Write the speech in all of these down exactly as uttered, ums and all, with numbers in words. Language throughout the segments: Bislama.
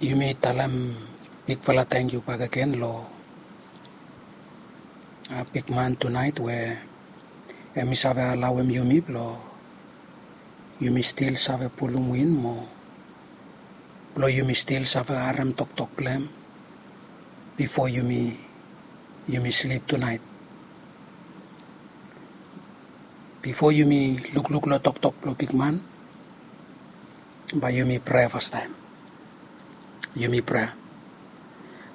Yumi talem bigfala tangkiu bakegen long bigman tunaet we em i save alaoem yumi blong yumi stil save pulum win mo blong yumi stil save harem toktok blong em bifo yumi yumi slip tunaet. Bifo yumi lukluk long toktok blong bigman, bae yumi prea fastaem. Yumi prea.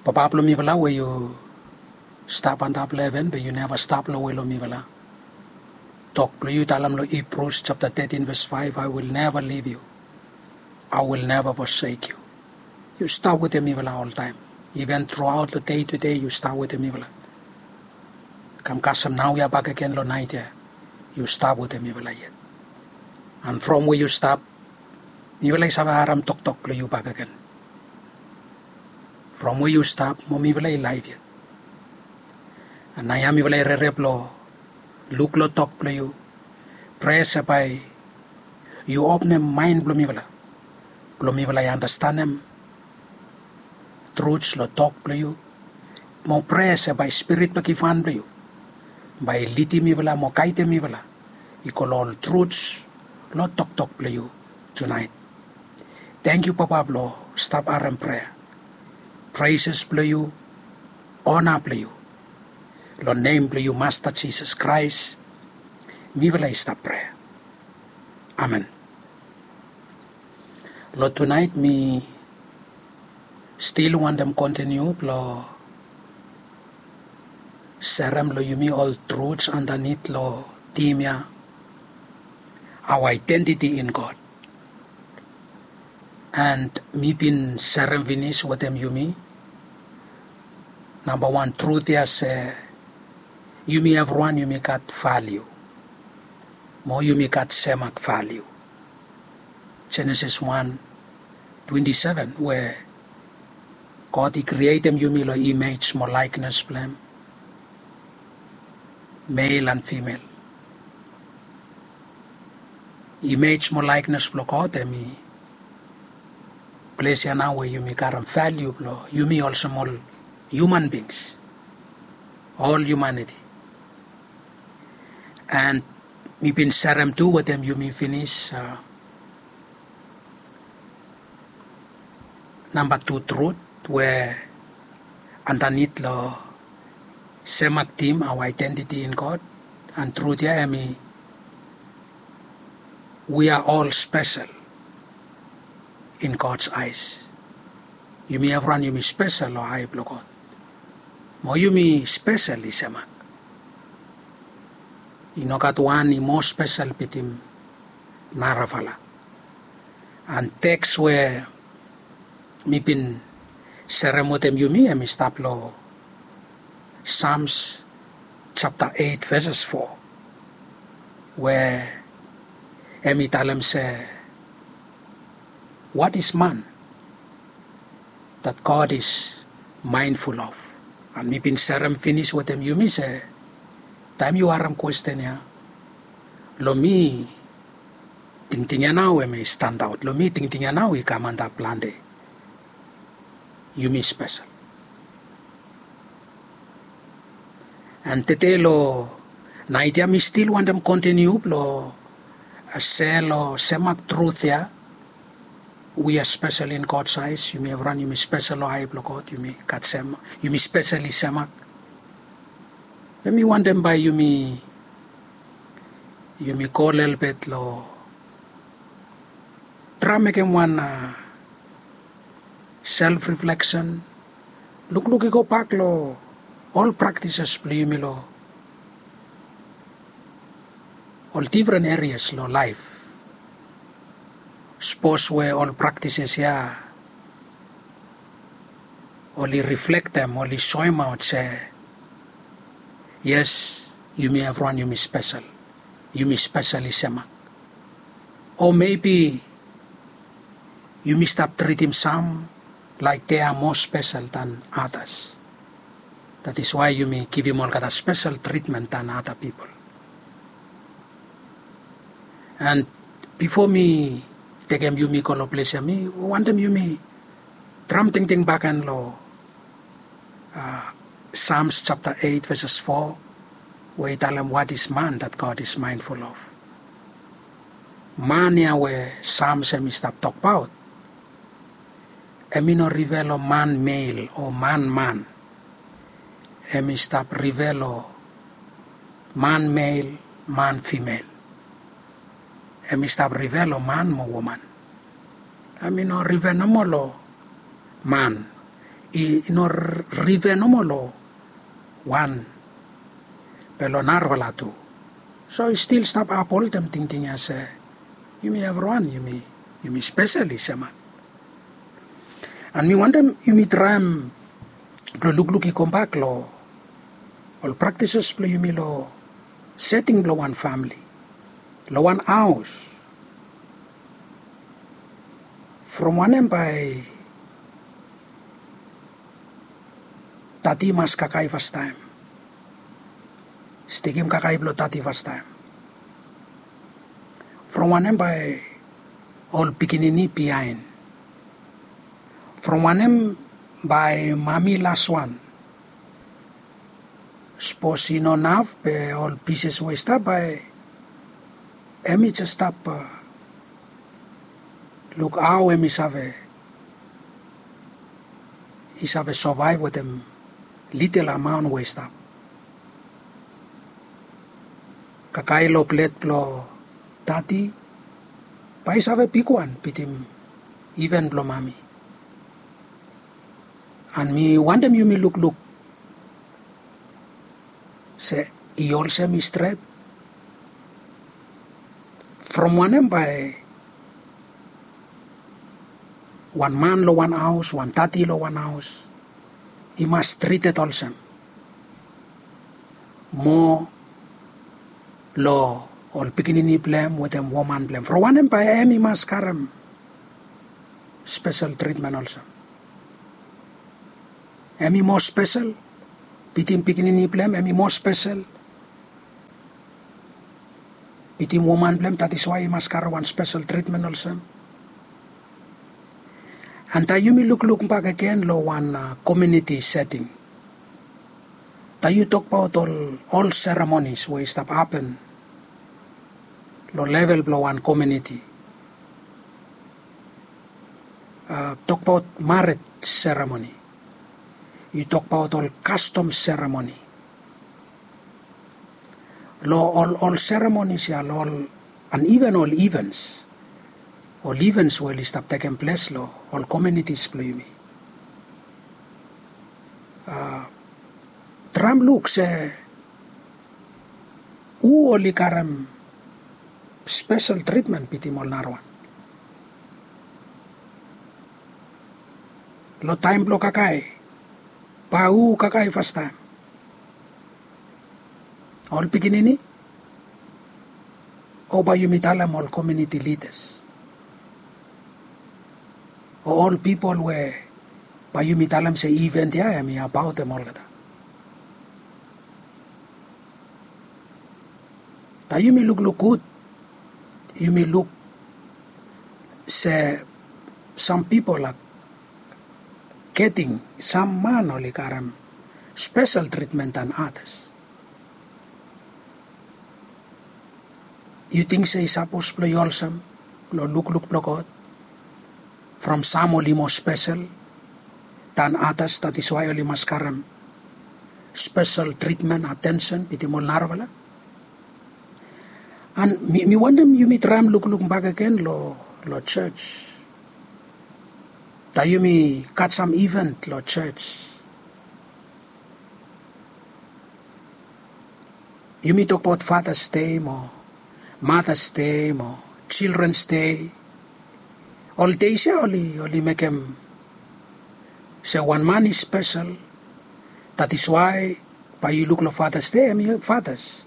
Papa blong mifala we yu stap antap long heven be yu neva stap long we long mifala. Tok blong yu talem long Hibrus japta tetin ves faef, I will never leave you. I will never forsake you. Yu stap wetem mifala oltaem. Iven truaot long dei tude yu stap wetem mifala. Kam kasem naoia bakegen long naet ya, yu stap wetem mifala yet. An from we yu stap, mifala i save harem toktok blong yu bakegen. From we yu stap mo mifala i laef yet. An naoia mifala i rere blong luk long tok blong yu. Prea se bae yu openem maen blong mifala blong mifala i anastenem truts long tok blong yu. Mo prea se bae spirit blong givhan blong yu bae i lidim mifala mo gaedem mifala i go long ol truts long toktok blong yu tunaet. Tangkiu Papa blong stap harem prea. Preses blong yu, ona blong yu. Long nem blong yu Masta Jisas Kraes mifala i stap prea. Amen. Long tunaet mi stil wantem kontiniu blong serem long yumi ol truts andanit long tim ya, our identity in God. And mi bin serem finis wetem yumi namba wan trut ya se yumi evriwan yumi gat valiu mo yumi gat semak valiu. Jenesis wan twenti seven we God i krietem yumi long imej mo laeknes blong em, mel an fimel. Imej mo laeknes blong God em i ples ya nao we yumi karem valiu blong yumi olsem ol hiuman bings, ol hiumaniti. And mi bin serem tu wetem yumi finis namba tu trut we andanit long semak tim, our identity in God. And trut ya em i we are all special in God's eyes. Yumi evriwan yumi spesel long ae blong God. Mo yumi spesel i semak. I no gat wan i moa spesel bitim narafala. And teks we mi bin serem wetem yumi em i stap long Psalms japta eit veses fo we em i talem se, what is man that God is mindful of? And mi bin serem finis wetem yumi se taem yu harem kwesten ya, long mi tingting ya nao em i standaot, long mi tingting ya nao i kam antap plante. Yumi spesel. And tede long naet ya mi stil wantem kontiniu blong se long semak trut ya. We are special in God's eyes. Yumi evriwan yumi spesel long ae blong God. Yumi gat semak, yumi spesel i semak. Be mi wantem bae yumi yumi go lelebet long traem mekem wan self refleksen. Lukluk i gobak long ol praktises blong yumi long ol difren erias long laef. Sapos we ol praktises ya oli riflektem, oli soemaot se yes, yumi evriwan yumi spesel. Yumi spesel i semak. O mebi yumi stap tritim sam laek dea moa spesel dan atas. That is why yumi givim olgeta spesel tritmen dan ada pipol. And bifo mi tekem yumi go long ples ya mi wantem yumi Traem tingting bakegen long Psalms japta eit veses fo, we i talem, what is man that God is mindful of? Man ya we Psalms hem i stap tokbaot, hem i no rive long man mel o man man. Hem i stap rive long man mel, man fimel. Hem i stap rive long man mo woman. Hem i no rive nomo long man. I no rive nomo long wan, be long narafala tu. So i stil stap apholtem tingting ya se yumi evriwan yumi spesel i seman. An mi wantem yumi traem blong lukluk i kambak long ol praktises blong yumi long seting blong wan famili, long wan haos. From wanem bae tati i mas kakae fastaem? Stekem kakae blong tati fastaem. From wanem bae ol pikinini biaen? From wanem bae mami laswan? Sapos i no naf be ol pises we i stap bae hem i jes stap luk hao hem i save i save sovaev wetem litel amaon we i stap. Kakae long plet blong tati bae i save bigwan bitim iven blong mami. An mi wantem yumi lukluk se i olsem i stret? From wanem bae wan man long wan haos, wan tati long wan haos i mas trited olsem mo long ol pikinini blong hem wetem woman blong hem? From wanem bae hem i mas karem spesel tritmen olsem? Hem i moa spesel bitim pikinini blong hem? Hem i moa spesel bitim woman blong hem, that is why i mas karem wan spesel tritmen olsem? An taem yumi lukluk bakegen long wan komiuniti seting, taem yu tokbaot ol seremonis we i stap hapen long level blong wan komiuniti, tokbaot marej seremoni, yu tokbaot ol kastom seremoni, long ol seremonis ya, long ol an iven ol ivens ol ivens we oli stap tekem ples long ol komiunitis blong yumi. Traem luk se hu oli karem spesel tritmen bitim ol narawan. Long taem blong kakae, bae hu kakae fastaem? Ol pikinini? O bae yumi talem ol komiuniti lidas o ol pipol we bae yumi talem se iven ya hem i abaotem olgeta? Taem yumi lukluk gud yumi luk se sam pipol a geting sam man oli karem spesel tritmen dan atas. Yu ting se i sapos blong i olsem long lukluk blong God? From sam oli moa spesel dan atas, that is why oli mas karem spesel tritmen, atensen bitim ol narafala. An mi wantem yumi traem lukluk bakegen long jos. Taem yumi gat sam iven long jos, yumi tokbaot Fathers Day mo Mothers Day mo Children's Day. Ol deis ya oli mekem se wan man i spesel. That is why bae yu luk long Fathers Day hem i fathers,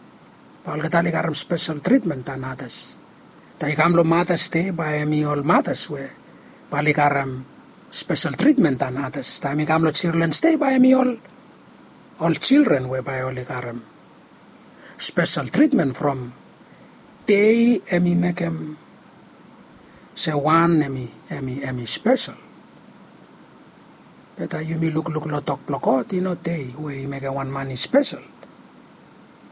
bae olgeta oli karem spesel tritmen dan atas. Taem i kam long Mothers Day bae hem i ol mothers we bae oli karem spesel tritmen dan atas. Taem i kam long Children's Day bae hem i ol children we bae oli karem spesel tritmen. From dei hem i mekem se wan hem i spesel. Be taem yumi lukluk long tok blong God, i no dei we i mekem wan man i spesel.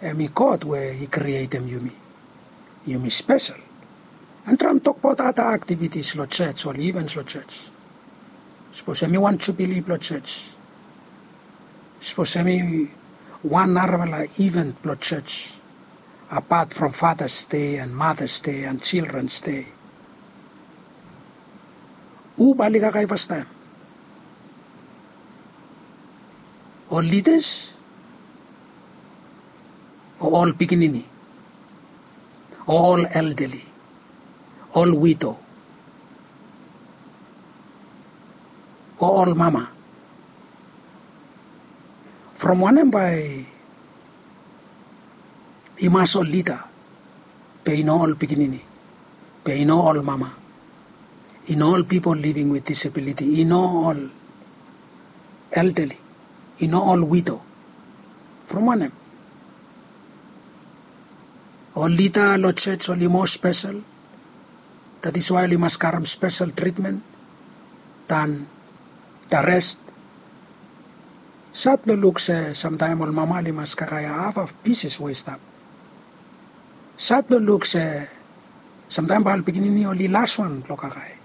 Hem i God we i krietem yumi. Yumi spesel. Hem traem tokbaot ada aktivitis long jos o ivens long jos. Sapos hem i wan jubili blong jos, sapos hem i wan narafala iven blong jos, apat from Fathers' Day and Mothers' Day and Children's Day, hu bae oli kakae fastaem? Ol lidas o ol pikinini o ol eldali o ol wido o ol mama? From wanem bae i mas ol lida, be i no ol pikinini, be i no ol mama, i no ol pipol living with disability, i no ol eldali, i no ol wido? From wanem? Ol lida long jos oli moa spesel, that is why oli mas karem spesel tritmen dan the rest. Sad blong luk se samtaem ol mama oli mas kakae haf a pises we i stap. Sad blong luk se samtaem bae ol pikinini oli laswan blong kakae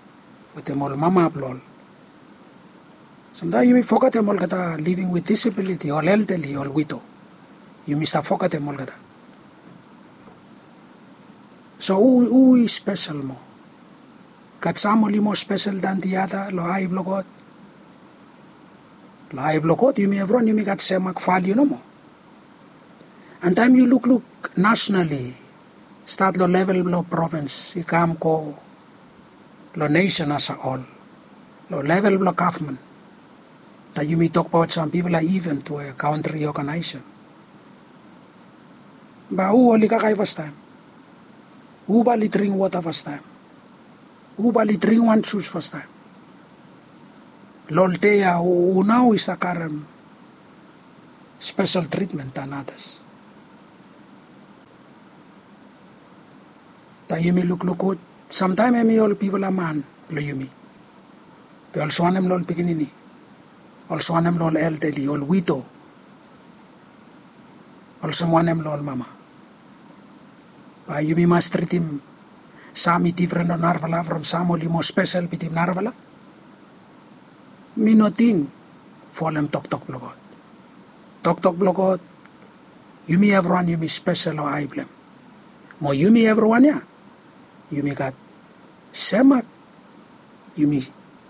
wetem ol mama blong ol. Samtaem yumi fogetem olgeta living with disability, ol eldali, ol wido. Yumi stap fogetem olgeta. So hu, hu i spesel moa? Gat sam oli moa spesel dan the other long ae blong God? Long ae blong God yumi evriwan yumi gat semak valiu nomo. And taem yu lukluk nationally, stat long level blong provins i kam go long nesen as a whole, long level blong gavman, taem yumi tokbaot sam bigfala iven we kantri i oganaesem, bae hu oli kakae fastaem? Hu bae oli dring wota fastaem? Hu bae oli dring wan jus fastaem? Long ol dei ya hu nao i stap karem spesel tritmen dan adas? Taem yumi lukluk gud, samtaem hem i ol bigfala man blong yumi, be olsem wanem long ol pikinini, olsem wanem long ol eldali, ol wido, olsem wanem long ol mama? Bae yumi mas tritim sam i difren long narafala from sam oli moa spesel bitim narafala? Mi no ting folem toktok blong God. Toktok blong God, yumi evriwan yumi spesel long ae blong hem. Mo yumi evriwan ya yumi gat semak. Yumi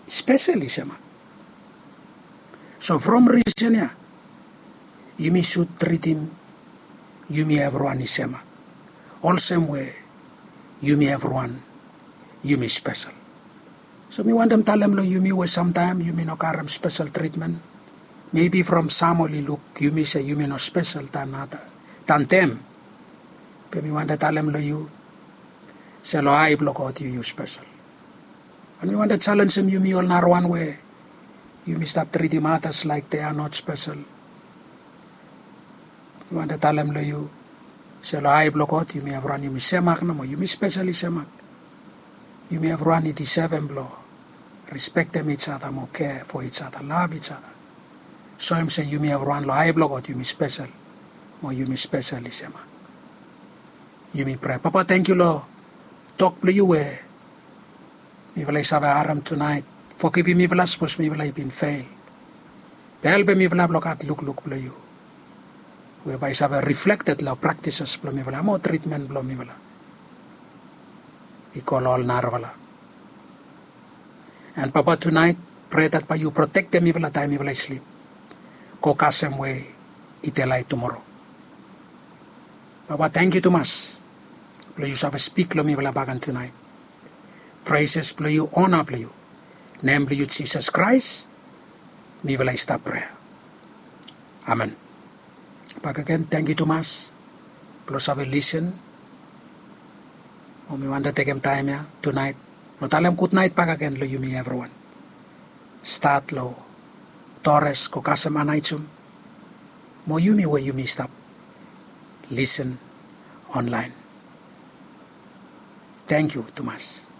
spesel i semak. So from risen ya yumi sud tritim yumi evriwan i semak, olsem we yumi evriwan yumi spesel. So mi wantem talem long yumi we samtaem yumi no karem spesel tritmen. Mebi from sam oli luk yumi se yumi no spesel dan ada, dan dem. Be mi wantem talem long yu se long ae blong God yu yu spesel. And mi wantem jalenjem yumi ol narawan we yumi stap tritim adas laek they are not spesel. Mi wantem talem long yu se long ae blong God yumi evriwan yumi semak nomo, yumi spesel i semak. Yumi evriwan i disevem blong rispektem each other mo care for each other, love each other. Soem se yumi evriwan long ae blong God yumi spesel, mo yumi spesel i semak. Yumi prea. Papa, tangkiu long tok blong yu we mifala i save harem tunaet. Fogivim mifala sapos mifala i bin fel. Be helpem mifala blong gat lukluk blong yu we bae i save riflekted long praktises blong mifala mo tritmen blong mifala i go long ol narafala. And Papa, tunaet prea dat bae yu protektem mifala taem mifala i slip, go kasem we i delae tumoro. Papa, tangkiu tumas blong yu save spik long mifala baken tunaet. Preses blong yu, ona blong yu, nem blong yu Jisas Kraes mifala i stap prea. Amen. Bakegen tangkiu tumas blong save lisen. Mo mi wantem tekem taem ya tunaet blong talem gudnaet bakegen long yumi evriwan, stat long Dores go kasem Anaejum, mo yumi we yumi stap lisen onlaen. Tangkiu tumas.